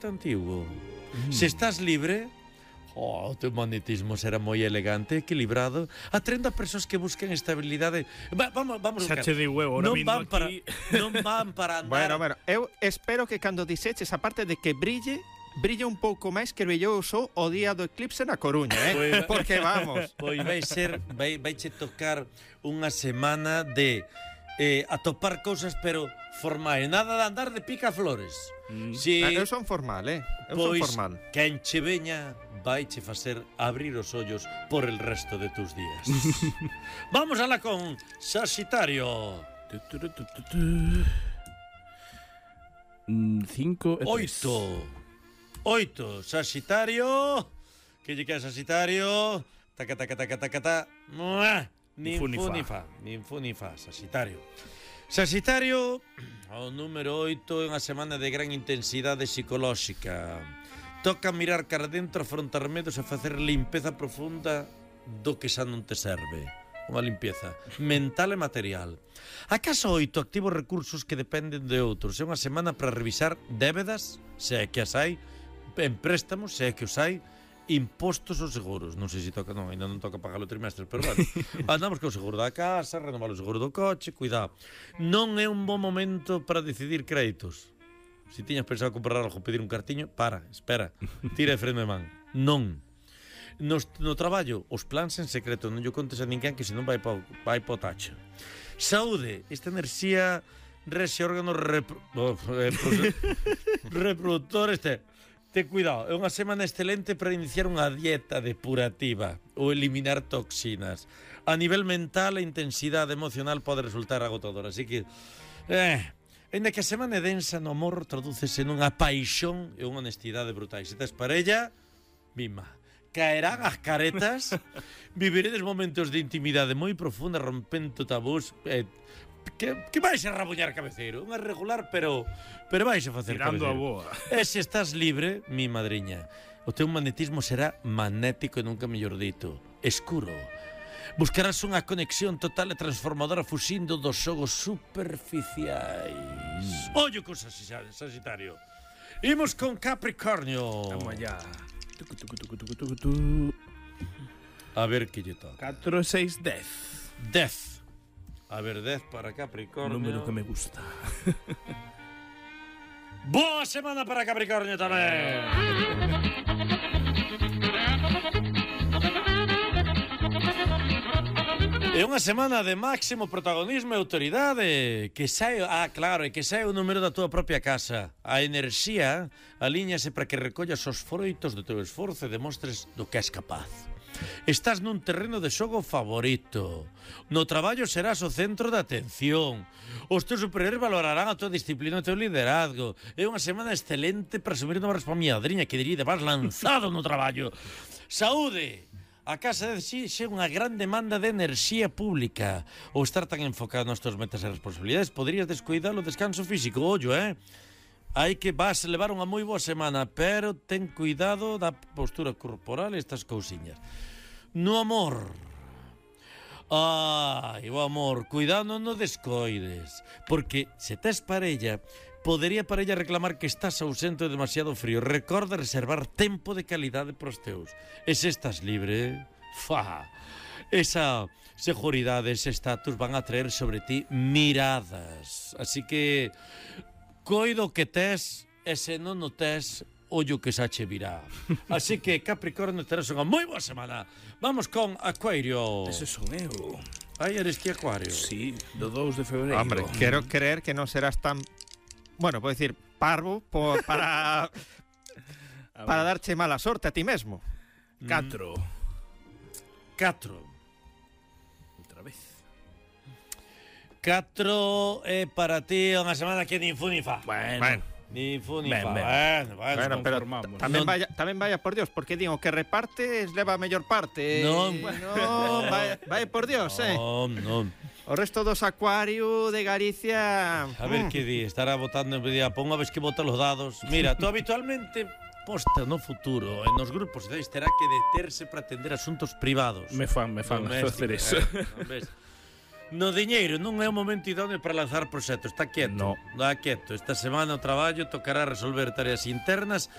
antigo. Se estás libre, o teu magnetismo será moi elegante, equilibrado, atrendo a persoas que busquen estabilidade. Vamos xa che di huevo, ahora mismo aquí. Non van para andar. Bueno, eu espero que cando dixeches a parte de que brille un pouco máis que brillou só o día do eclipse na Coruña, porque vamos. Pois vai tocar unha semana de atopar cousas, pero formais, nada de andar de picaflores. Si, eu son formal, eu son formal. Quen che veña vaiche facer abrir os ollos por el resto de tus días. Vamos alá con Sagitario. 5 e 8, Sagitario. Que lle queda Sagitario? Taca. Nin fu ni fa, Sagitario. Sagitario, o número 8 é unha semana de gran intensidade psicolóxica. Toca mirar cara dentro, afrontar medos e facer limpeza profunda do que xa non te serve. Unha limpieza mental e material. A casa 8 activa recursos que dependen de outros. É unha semana para revisar débedas, se é que as hai, en préstamos, se é que os hai, impostos ou seguros. Non sei se toca, non, ainda non toca pagar o trimestre, pero bueno, andamos con o seguro da casa, renovar o seguro do coche, cuidado. Non é un bon momento para decidir créditos. Se tiñas pensado comprar algo, pedir un cartiño, espera, tira de freno de man. Non. No traballo, os plans en secreto, non lle contes a ninguén que senón vai pa o tacho. Saúde, esta enerxía rexe órganos reproductores. Ten cuidado, é unha semana excelente para iniciar unha dieta depurativa ou eliminar toxinas. A nivel mental, a intensidade emocional pode resultar agotadora, así que ainda que a semana é densa no amor, tradúcese nunha paixón e unha honestidade brutais. Se tes parella, mima. Caerán as caretas, viviredes momentos de intimidade moi profunda, rompendo tabús, que vais a rabuñar cabeceiro. Unha regular, pero vais a facer tirando cabeceiro. A boa. E se estás libre, mi madriña, o teu magnetismo será magnético e nunca mellor dito, escuro. Buscarás unha conexión total e transformadora fuxindo dos xogos superficiais. Ollo con Sagitario. Imos con Capricornio. Vamos allá. A ver que lle toca. 4, 6, 10. 10. A ver, 10 para Capricornio. Número que me gusta. Boa semana para Capricornio tamén. É unha semana de máximo protagonismo e autoridade. Que sae, claro, e que sae o número da tua propia casa. A enerxía alíñase para que recollas os froitos do teu esforzo e demostres do que és capaz. Estás nun terreno de xogo favorito. No traballo serás o centro de atención. Os teus superiores valorarán a tua disciplina e o teu liderazgo. É unha semana excelente para asumir novas responsabilidades que diría de vas lanzado no traballo. Saúde! A casa de si xe unha gran demanda de enerxía pública. Ou estar tan enfocado nas tuas metas e responsabilidades poderías descuidar o descanso físico. Ollo, hai que vas levar unha moi boa semana, pero ten cuidado da postura corporal e estas cousiñas. No amor. O amor, cuidado non o descoides, porque se tes parella, podería a parella reclamar que estás ausente ou demasiado frío. Recorda reservar tempo de calidade pros teus. E se estás libre, esa seguridade, ese estatus van a traer sobre ti miradas. Así que coido que tes, e se non o tes, ollo que xa che virá. Así que Capricornio, terás unha moi boa semana. Vamos con Acuario. Ese son eu. Eres ti Acuario? Sí, do 2 de febreiro. Hombre, quero creer que non serás tan, bueno, podo dicir, parvo para darche mala sorte a ti mesmo. 4. Outra vez. 4 é para ti unha semana que nin fu ni fa. Bueno. Ni fu ni fa. Bueno, pero tamén vaya por Dios, porque digo que repartes leva a mellor parte. Non. Bueno, vai por Dios, Non. O resto dos Acuario de Galicia. A ver que di, estará votando en día, pon a vez que vota los dados. Mira, tú habitualmente posta no futuro en los grupos terá que deterse para atender asuntos privados. Me fan hacer eso. No diñeiro non é o momento idóneo para lanzar proxectos. Está quieto. No. Está quieto. Esta semana o traballo tocará resolver tareas internas